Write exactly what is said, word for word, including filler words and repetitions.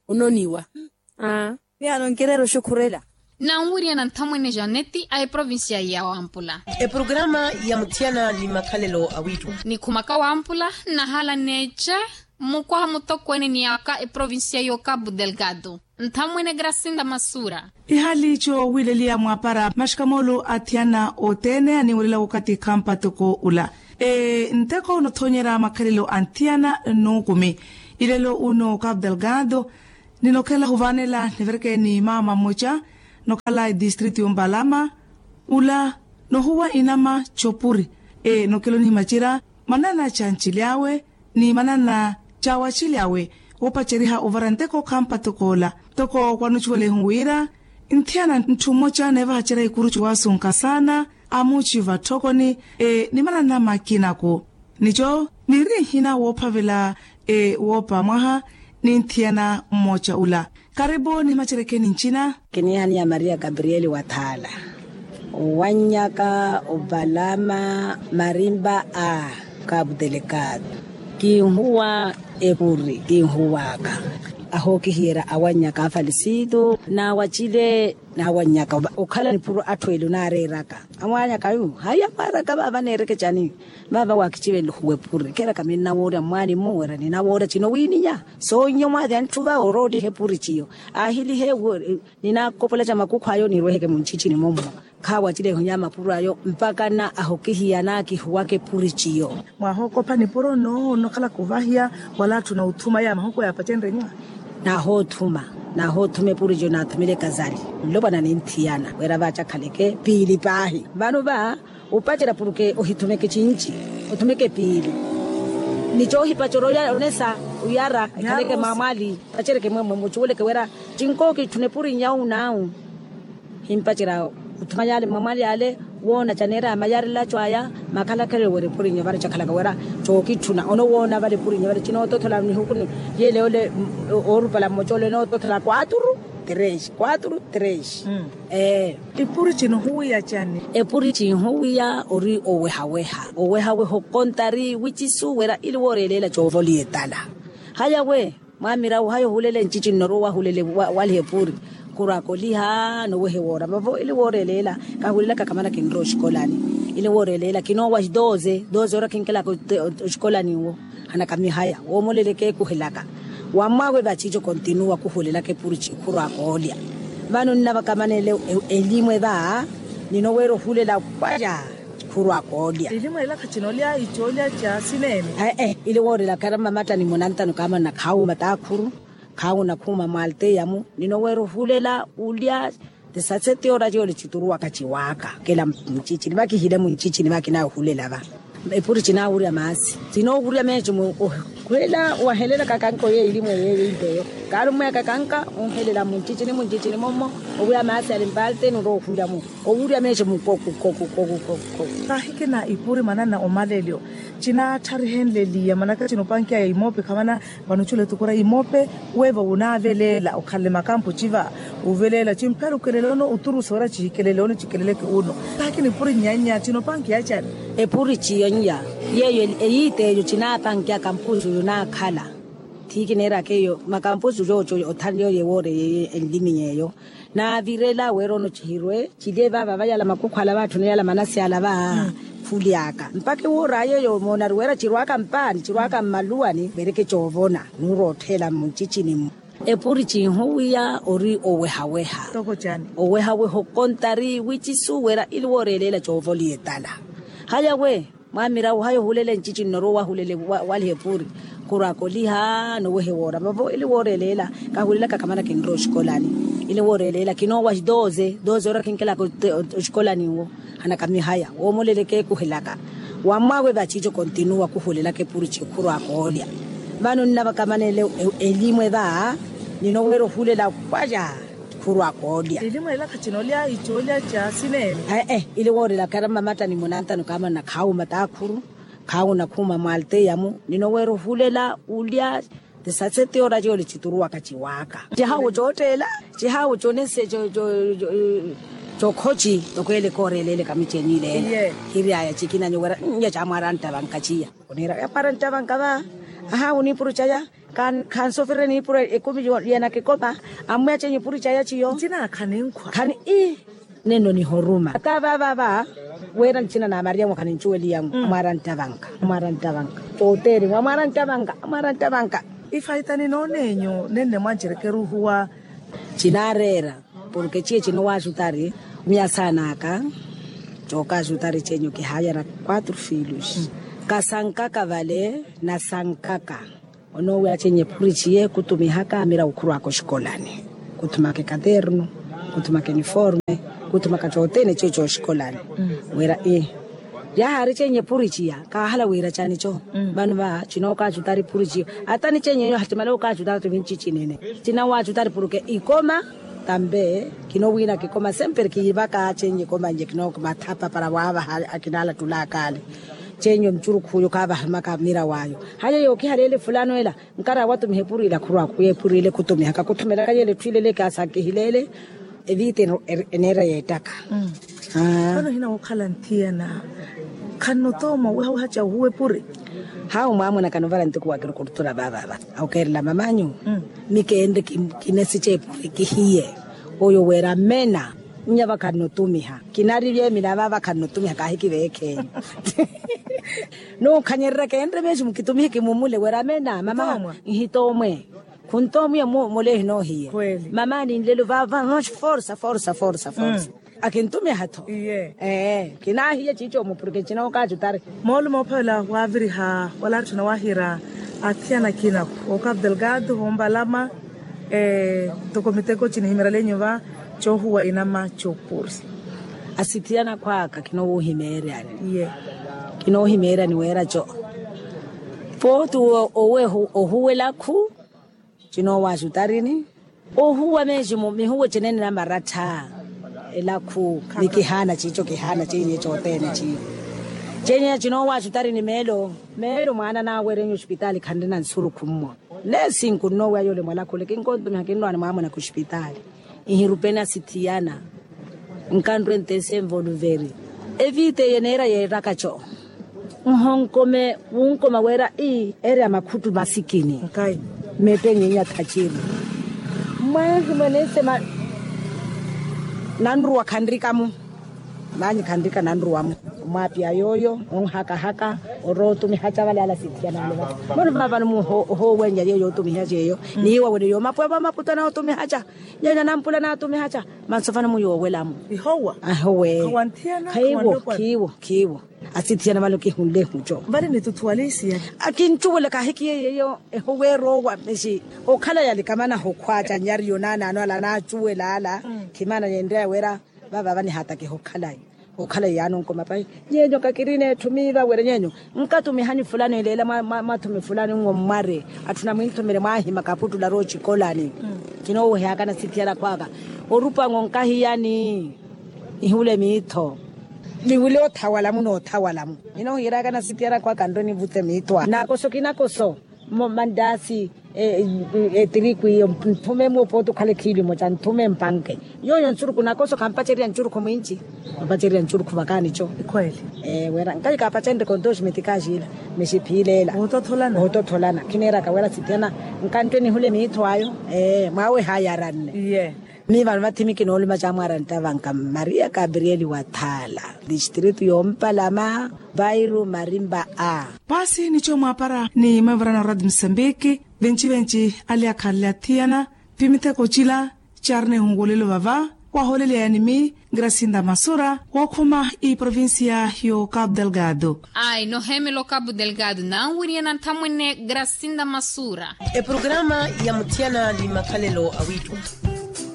Ononiwa. Aa. Miyaano nkireera oxukhurela. Nanwiriyana nthamwene janeti a eprovincia ya wampula. Eprograma ya muthiyana ni makhalelo awiittuma. Nikhumaka wampula nnahala neece. Mukwaha mutokweene ni aka eprovincia yo capu delgado. Nthamwene gracinda masura. Ihali coowileliya mwapara maxikamoolu athiyana othene aniwirela wakathi khampa toko ula. Nteko nothonyera makhalelo a nthiyana nnuukumi. Ilelo uno capu delgado. Ninokhela huvanela nivireke ni mama mmoca nokhala etistritu yombalama. Ula nohuwa inama copuri. Nokelo nihimacira manana ca ncili awe ni manana ca wacili awe. Woopaceriha ovara nteko khampa toko ola. Toko kwanucuwelehu wira nthiyana ntthu mmoca neevahacerya ikuru ciwasunka saana. Amuciva tthokoni ni manana makinaku. Nico niri nhina woophavela woopa mwaha ni nthiyana mmoca ula. Karipu nihimacerekeni ncina. Kiniihaniya maria gabrieli wathaala. Owannyaka opalama marimpa a kapu delekado. Kinhuwa epuri kinhuwaka. Ahookihiyerya awannyaka afalisitu n'awacile n'awannyaka okhala nipuro atthu eli onaareeraka. Amwaanyaka yu haiya mwaaraka vaava neereke cani? Vaava waakici venle ohuwa epuri keeraka minnawoorya mmwaani mmu wira ninawoorya cino wiininya. Soonnya omwaathiya ntthu va orooliha epuri ciyo. Aahilihe ninakopola ca makukhwaayo nirweheke munchichini mommo. Khaawacile ehonya mapuro ayo mpakana ahokihiya naakihuwaka epuri ciyo. Mwahookopha nipuro nno nnokhalaka ovahiya wala atthu na othuma ya mahoko yaapacenrye nyuwa. Nahoothuma nahoothuma epuri ciyo naathumile ekazali. Nlopwana ni nthiyana wira vaacakhaleke piili paahi vano va. Upacerya puruke ohithumeke cinci othumeke piili. Ni coohipacerya onesa oyara ekhaleke maamwali. Paceryeke mwemwe mucuweleke wira cinkookitthuna epurinya owu n'awu. Himpacerya othuma yaale maamwali yaale woona caneera ya mayarela aco aya. Makhalakhale wira epurinya vale cakhalaka wira cookitthuna onowoona vale epurinya vale cinootothola nihukuni. Yeele ole oorupala mmoca ole onootothola kwaturu tres kwaturu tres. Epuri cinhuwiya cani? Epuri cinhuwiya ori owehaweha owehaweha okontari wicisu wira ili wooreeleela coovoliya etala. Haya we mwamirawu haya ohulela encici nnoruwa wahulele waliha epuri. Khurwaka oliha nowehe woora vavo ili wooreeleela. Kahulelaka kamana kinrowa oxikolani ili wooreeleela kinoowa doze doze ora kinkelaka oxikolani nwo. Hanakamihaya woomoleleke kuhelaka. Wammwaawe vaciico kontinuwa kuhulelaka epuri cikhurwaka olya. Vano nnavakamanele elimwe va ninoweera ohulela kwaya. Khurwaka olya. Elimwe ela khacinolya icoolya ca sineene. Ee ili woorelaka era mmamattani munantano kaamana khaawuma taakhuru. Khaawuna khuuma mwalteyamu ninoweera ohulela ulya. Ti saseti ora ciyo licituruwaka ciwaaka kela muncicini vakihile muncicini vakinaya ohulela va. Epuri cinaawurya maasi. Cinoohurya meeco mu okhwela wahelelaka kanka oyo elimwe yeeyo inteyo. Kaari ommweyaka kanka onhelela muncicini muncicini mommo. Owuya maasi ali mpalteni orowa ohulyamo. Owurya meeco mukoku koku koku koku koku. Kahikina ipuri manana omalelyo. Cinaattarihenleliya manaka cinopankiya ya imope khamana. Vano cula etukura imope weeva wunaaveleela okhalele makampo civa. Wuveleela cimphera ukelele ono uturusa wira cihikelele ono cikeleleke uno. Taakina epuri nyannya cinopankiya cani? Epuri ciyo nya yeeyo eyiita eyo cinaapankiya kampusu yunaakhala. Thiikineeraka eyo makampusu yooco othanle yoye woore yeeyo enlimi yeeyo. Naavirela weera ono cihirwe. Cilye vaava vayala makukhwala vaatthuna yala manasi ala va. Khulyaka mpakha ewooraya eyo moonari weera cirwaka mpaani cirwaka mmaluwani veereke coovona. Nuurotthela mmuncicini-mu. Epuri cinhuwiya ori owehaweha. Owehaweha okontari wicisu weera ili wooreeleela coovoliya etala. Haya we mwamirawu haya ohulela encici nnoruwa wahulele waliha epuri. Khurwaka oliha nowehe woora vavo ili wooreeleela. Kahulelaka kamana kinrowa oxikolani ili wooreeleela kinoowa doze doze ora kinkelaka oxikolani nwo. Hanakamihaya woomoleleke kuhelaka. Wammwaawe vaciico kontinuwa kuhulelaka epuri cikhurwaka olya. Vano nnavakamanele elimwe va ninoweera ohulela kwaya. Khurwaka olya. Elimwe ela khacinolya icoolya ca sineene. Ee ili woorelaka era mmamattani munantano kaamana khaawuma taakhuru. Khaawuna khuuma mwalteyamu ninoweera ohulela ulya. Ti saseti ora ciyo licituruwaka ciwaaka cihaawu cootteela. Cihaawu conese cokhoci. Toko ele kooreeleele kamicenyi ileela. Hiryaya cikinanyo wira nya camwaara nttavanka ciya. Oniira yamwaara nttavanka va. Aha oniipuru caya. Khansofirire niipuru ekumi yena kikopa. Ammwiya chenye ipuru caya chiyo. Khani ii. Nenno nihoruma ata vaavava. Wira ncina na mariamu khanincuweliyamu amwaara nttavanka. Amwaara nttavanka. Oteeri mwa amwaara nttavanka. Amwaara nttavanka. Ifaita ninoonenyu nenne mwancerekeru ohuwa. Cinaareera porke ciye cinowaaxutari. Miya saan'aka cookaaxutari cenyu kihaayara. Quatro filhos. Kasankaka vale nasankaka. Onoowiya chenye puriciye kutumihaka mira ukhurwaka oxikolani. Kuthumaka ekaternu. Kuthumaka iniforme. Kuthumaka cothene ciyo cooxikolani. Wira ii. Yahaari chenye puriciya kaahala wira canico. Vano va cinookaaxutari puriciyo. Ata ni chenye eyo hatimale okaaxutari ati vinci cinene. Cinawaaxutari porke ikoma. Tambe kinowiina kikoma sempre kiivaka chenye ikoma nye kinookuma thapa para waavaha. Akinaalattulaka ale chenye oncurukhu uyo kaavahimaka mira waayo. Haya yookihalele fulano ela. Nkara watumiha epurila khurwakhu yeepurila ekhutumihaka khutumelaka yele etthu ilele kaasakihilele. Evita eneera yeettaka. Vano hina wookhala nthiyana. Khanno tooma oweha ohaca ohuwa epuri. Hawu mwaamuna kanovala ntuku wa kirukurutura vaavava. Ahukeerela mamanyu. Ni keenre kinesica epuri kihiye. Oyo wira mena. Nnya vakhannotumiha kinari vyeemina vaava khannotumiha kaahikiveekhenyu. Nuukhanyererya keenre meeximu kitumihe kimumule wira mena mama. Nhitoomwe. Khuntoomwiya mmolehi noohiye. Mama ninlelo vaava noxi forsa forsa forsa forsa. Akintumiha-tho. Ee kinaahiye ciico-mu porke cinookaacutari. Moolumo ophavela waaviriha wala atthu nawaahiira. Athiyana akina-ku okapu delgado hompalama. Ntoko miteko cinihimerelenyu va coohuwa inama coopuri. Asithiyana akhw'aka kinoohimeeryani. Kinoohimeeryani weera co. Pooti owe ohuwa elakhu. Cinoowaxutarini. Ohuwa meeximu mihuwe cinene namarattha. Elakhu ni kihaana ciico kihaana ceiye cothene ciiyo. Ceiye cinoowaxutarini meelo. Meelo mwaana naawerenyu oxipitaali khanrina nsurukhu mmo. Neesinku nnoowiya yoole mwalakhule kinkontumiha kinrwaani mwaamuna khuxipitaali. Nhirupeni asithiyana. Nkanrwe ntese nvoluveri. Evita eye neera yeeraka co. Nhonkome wunkoma weera ii eri ya makhuttu masikini. Meettennyinya thaciri. Mwaahimwa neesema. Nanruwa khanrika-mu. Maanyi khanrika nanruwa-mu. Omwaapiya yooyo onhakahaka. Orootumihaca vale ala sithiyana vale vale. Mono vavano muhoowennya yeyo yootumihaca eyo. Niiwa wene yoomapwevo amaputo anootumihaca. Nyenya nampula naatumihaca. Manso vano muyoowela-mu. Ihowa. Ahowe. Khawanthiyana. Khiiwo. Khiiwo. Asithiyana vale okihunle ehuco. Vale nitutthuwale isiya. Akincuwela kaahikiyeiye eyo. Ehowe eroowa mexi. Okhala yalikamana hokhwaca nyariyo naanaano ala anaacuwela ala. Khimana yenreya wera. Vavava nihaatakiha okhalayi. Okhalayi yaani onkoma pahi. Nyenyo kakirina etthu miiva were nyenyo. Nkatumihanyu fulano eleela mwathumi fulano nwo mmware. Atthu namwinthumire mwaahima kaputtula roocikolani. Kinoowoheyaka nasithiyana akhwaka. Orupa-nwo nkahiyani. Nihule miitho. Niwule othawala-mu noothawala-mu. Ninoohiyeraka nasithiyana akhwaka nrwe nivute miitho a naakoso kinakoso. Mandaasi. Etiriku iyo nthume-mu opooti okhale khiili omoca nthume mpanke. Yooyo nsurukhu nakoso khampacererya nsurukhu mwinci. Khampacererya nsurukhu vakaani co. Wera nkayi kaapacenrye kontoxi mitikaxiila. Mexiphiileela. Oototholana. Khiniraka wera sithiyana. Nkanttwe nihule miitho ayo. Mwaawe haayaranne. Miivano vathimi kinoolumaca amwaara nttavanka maria gabrieli wa thaala. Distritu yoompalama. Vairu marimba a. Paasi nico mwaapara ni maivarana oradi musambiki. Venci-venci ale akhanle athiyana. Pi miteko cila. Caarina ehunkulelo vava. Wahooleleyani mi grasinda masura wookhuma iprovincia yo capu delgado. Ai noheemela ocapu delgado nanwiriyana nthamwene grasinda masura. Eprograma ya muthiyana ni makhalelo a wiitthu.